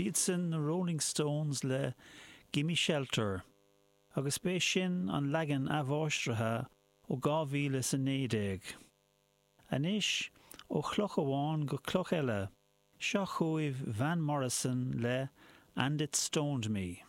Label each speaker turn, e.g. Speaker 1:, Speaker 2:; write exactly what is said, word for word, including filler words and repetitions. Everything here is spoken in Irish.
Speaker 1: B'iad sin na Rolling Stones le Gimme Shelter, agus b'é sin an leagan athmháistrithe ó dhá mhíle is a naoi déag. Anois, ó chloch amháin go cloch eile, seo chugaibh Van Morrison le And It Stoned Me.